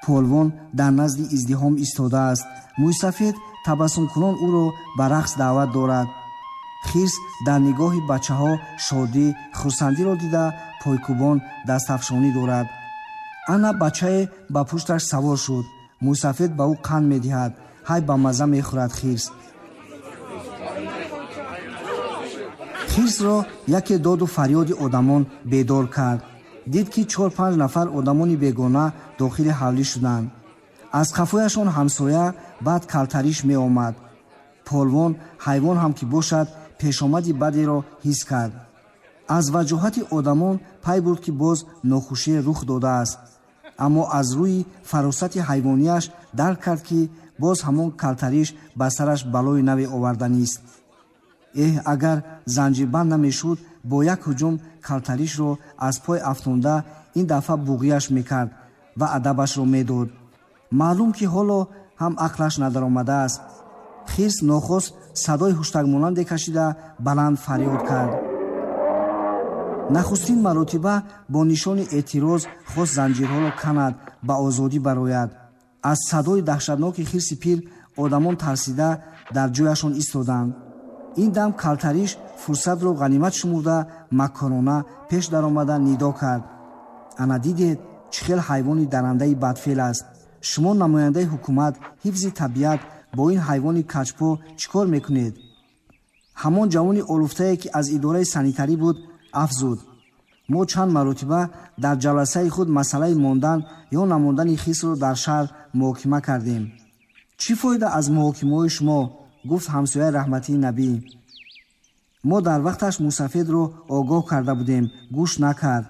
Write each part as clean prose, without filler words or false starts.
Полвон дар назди издиҳом истодааст. Мӯйсафед табассумкунон ӯро ба рақс даъват дорад. Хирс дар нигоҳи бачаҳо шодӣ, хурсандиро дида, пойкӯбон дастафшонӣ дорад. Ана бачае ба пушташ савор шуд. Мӯйсафед ба ӯ қанд медиҳад. Ҳай ба мазза мехӯрад хирс. Хирсро яке доду фарёди одамон бедор кард. Дид, ки 4-5 нафар одамони бегона дохили ҳавлӣ шуданд. Аз қафояшон ҳамсоя, баъд калтариш меомад. Полвон ҳайвон ҳам ки бошад, пешомади бадеро ҳис кард. Аз ваҷоҳати одамон пай бурд, ки боз нохушие рух додааст. Аммо аз рӯи фаросати ҳайвонияш дарк кард, ки боз ҳамон калтариш ба сараш балои наве оварданист. Эҳ, агар занҷирбанд намешуд, бо як ҳуҷум калтаришро аз пой афтонда, ин дафъа буғияш мекард ва адабашро медод. Маълум, ки ҳоло ҳам ақлаш надаромадааст. Хирс нохост садои ҳуштакмонанде кашида, баланд фарёд кард. Нахустин маротиба бо нишони эътироз хост занҷирҳоро канад, ба озодӣ барояд. Аз садои даҳшатноки хирси пир одамон тарсида дар ҷояшон истоданд. Ин дам калтариш фурсатро ғанимат шумурда, маккорона пеш даромада нидо кард: ана дидед, чӣ хел ҳайвони дарандаи бадфеъл аст. Шумо намояндаи ҳукумат, ҳифзи табиат, бо ин ҳайвони каҷпо чӣ кор мекунед? Ҳамон ҷавони олуфтае, ки аз идораи санитарӣ буд, афзуд: мо чанд маротиба дар ҷаласаи худ масъалаи мондан ё намондани хирсро дар шаҳр муҳокима кардем. Чӣ фоида аз муҳокимаҳои шумо? Гуфт ҳамсояи раҳматии Набӣ. Мо дар вақташ мусафедро огоҳ карда будем, гӯш накард.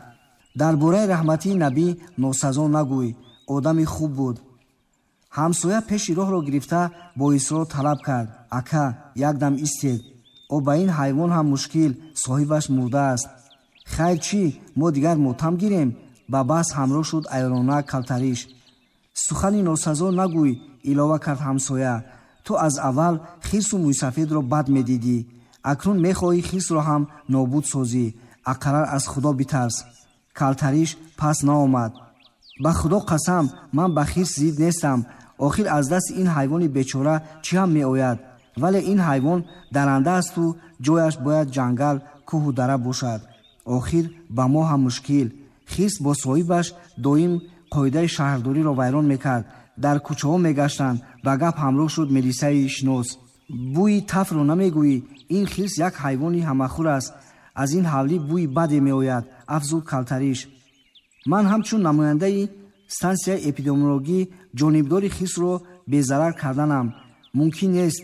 Дар бораи раҳматии Набӣ носазо нагӯй, одами хуб буд. Ҳамсоя пеши роҳро гирифта бо исрор талаб кард: ака, якдам истед, о ба ин ҳайвон ҳам мушкил, соҳибаш мурдааст. Хайр чӣ, мо дигар мотам гирем? Ба баҳс ҳамроҳ шуд айрона калтариш. Сухани носазо нагӯй, илова кард ҳамсоя. Ту аз аввал хирсу мӯйсафедро бад медидӣ, акнун мехоҳӣ хирсро ҳам нобуд созӣ. Ақаллан аз Худо битарс. Калтариш пас наомад. Ба Худо қасам, ман ба хирс зид нестам. Охир аз дасти ин ҳайвони бечора чӣ ҳам меояд? Вале ин ҳайвон даранда асту ҷояш бояд ҷангал, кӯҳу дара бошад. Охир ба мо ҳам мушкил. Хирс бо соҳибаш доим қоидаи шаҳрдориро вайрон мекард, дар кӯчаҳо мегаштанд. Ба гап ҳамроҳ шуд милисаи шинос. Бӯи тафро намегӯӣ? Ин хирс як ҳайвони ҳамахӯр аст. Аз ин ҳавлӣ бӯи баде меояд, афзуд калтариш. Ман ҳамчун намояндаи стансияи эпидемиологӣ ҷонибдори хирсро безарар карданам. Мумкин нест.